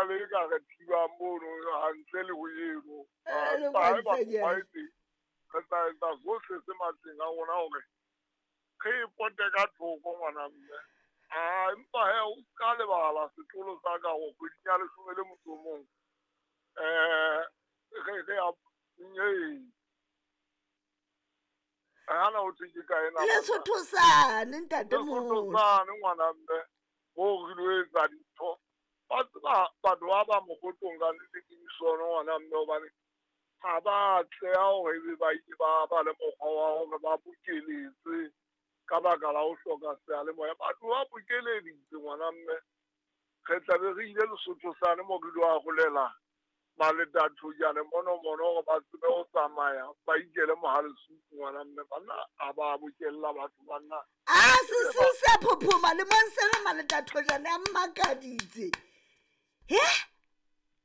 na le e ka re thibang mono hantle le ho eno. Eh, le Empa haeba kwantle mokgwa e teng, re tla etsa sohle se matleng a rona hore re e pote ka thoko ngwana mme. Ah, empa he o ska lebala setlolo sa ka hore kgweding ya leshome le motso o mong re ya ee. Hana ho thwe ke kae na banna? Lesotho sane ntate Lesotho moholo. sane ngwana mme moo re lo etsa dintho. Wa tseba batho ba ba mokgotlong ka nnete ke disono ngwana mme hobane ha ba atleha hore ebe ba ile ba ba le mokgwa wa hore ba bokeletse ka baka la ho hloka seyalemoya. Batho ba bokeleditse ngwana mme. Re tla be re ile Lesotho sane moo re lo arolela maletathojane mono mono hore ba tsebe ho tsamaya ba ikele mohalesuku ngwana mme. Banna ha ba bokella batho banna. A sesiu se a phophoma le mong sena maletathojane a mmakaditse. He?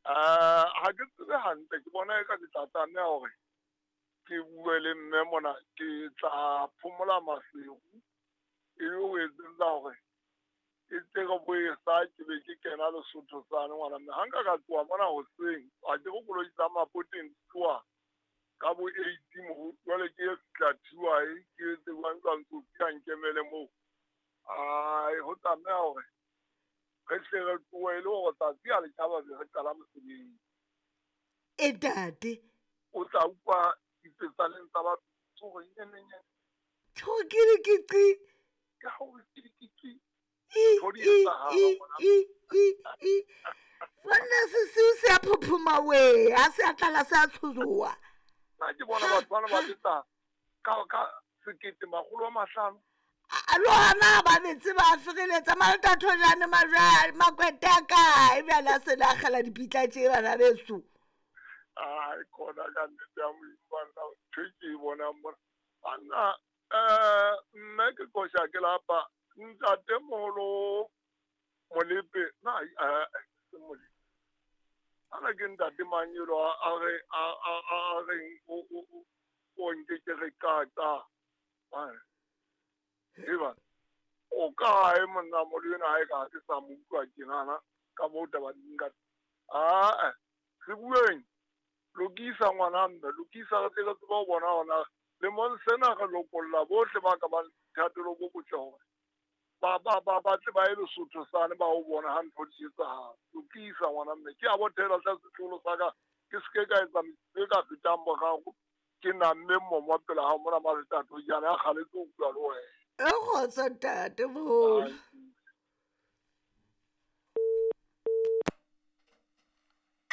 Ha ke tsebe hantle, ke bona eka ke tla tlameha hore ke bue le mme mona, ke tla phomola Maseru e le ho etsetsa hore e tle re boesa ke be ke kena Lesotho sane ngwana mme. Ha nka ka tloha mona hoseng, ha ke re koloi tsa Mapoteng di tloha ka bo 8 moo, jwale ke ye fihla Thiwae, ke etse jwang jwang tsotsi a nkemele moo. Ai, ho tlameha hore re hle re tlohe e le hore tsatsi ha le tjhaba be re qala mosebetsi. E tate. O tla utlwa ditsetsaneng tsa batho hore nyene nyene. Tjho ke re ke qi. Ke ha o ke ke qi. I, Ntho di i, etsahala i, ngwana. i, i, i. Banna sesiu se a phophoma we, ha se a tlala se a tshojoa. Nna ke bona Ha, batho bana ba ha. betsa ka sekete makgolo a mahlano. A le hona ba betse ba fereletsa maletathojane majwale makwete a kae bjale a se le akgela dipitla tše bana beso. Ai, khona ka nnete ya Modimo banna, ntho e ke e bonang mona. Banna, mme ke qosha ke lapa ntatemoholo Molepe, na se Molepe. Ana ke ntate mang elo a re a reng o nke ke re qata. Eba o kae monna moholo enwa ha e ka ha ke sa mo utlwa tjenana ka moo taba di nka. Ah, re bueng. Lokisa ngwana mme, lokisa re tle re tsebe ho bona hore na lemong sena re lokolla bohle ba ka bang le boithatelo bo botle hore ba tle ba ye Lesotho sane ba ho bona ha ntho di etsahala. Lokisa ngwana mme. Ke a bothela hle setlolo sa ka, ke se ke ka etsa metsotso e ka fetang boraro ke namme mmomo pela hao mona maletathojane a kgaletse ho bua le wena. E kgotso ntate moholo.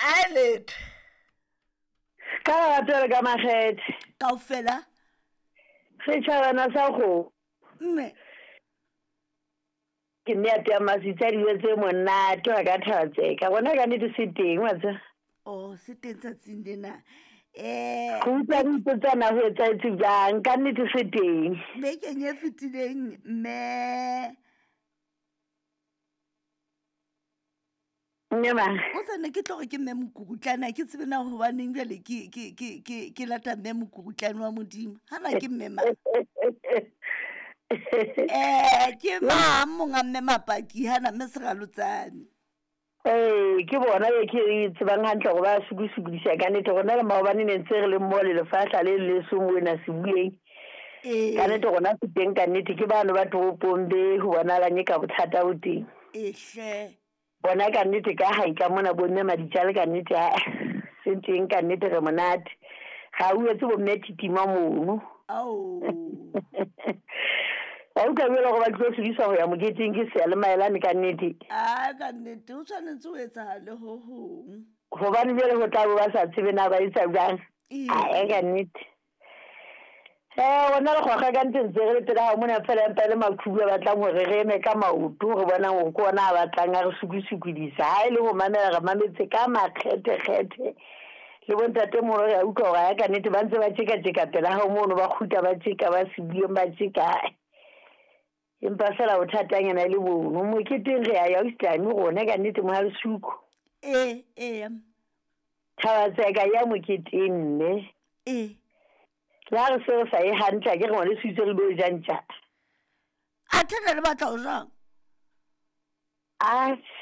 A letho. Ka lerato le ka makgethe. Kaofela. Setjhabana sa kgomo. Mme. Ke mme a tea masitsa dijo tse monate wa ka thaba tseka. Bona ka nnete se teng wa tseba. Oh, se teng tsatsing lena. Go utlwa re ipotsana ho etsahetse jwang, ka nnete se teng. Bekeng e fetileng mme Mme mang? O sa ne ke tlo re ke mme Mokurutlane, ha ke tsebe na hobaneng jwale ke lata mme Mokurutlane wa Modimo. Hana ke mme mang? Ke mang monga mme Mapaki hana mme Seralotsane? Ee, ke bona e ke e tsebang hantle hore ba sukusukudisa ka nnete. Rona le maobane ne ntse re le mmoho le lefahla le leso mona sebueng. Ka nnete rona se teng ka nnete ke bano ba toropong be ho bonahalang e ka bothata bo teng. Ehle. Bona ka nnete ka hae ka mona bo mme Maditjale ka nnete ha se teng ka nnete re monate. Ga o etse bo mme Titima mono. Ao. Wa utlwa jwale hore ba tlo sebediswa ho ya moketeng ke seyalemaelane ka nnete. A ka nnete o tshwanetse ho etsahale ho hong. Hobane jwale ho tla bo ba sa tsebe na ba etsa jwang. Ee. A ka nnete. Rona re kgokga ka ntse ntse re le pela hao mona fela empa e le maqhubu a batlang hore re eme ka maoto re bonang hore ke ona a batlang a re sukusukudisa. Ha e le ho mamela re mametse ka makgethekgethe. Le bontatemoholo re a utlwa hore ha ka nnete ba ntse ba tjeka-tjeka pela hao mono ba kgutla ba tjeka ba sebueng ba tjeka. Empa fela bothatanyana e le bono. Moketeng re a ya ausi rona ka nnete mohalesuku. Ee, ee. Thaba tseka ya moketeng mme. Ee. Le ha re se re sa ye hantle, ha ke re ngwaneso itse re lo ja ntja. Athe ne le batla ho jang? Atjhe.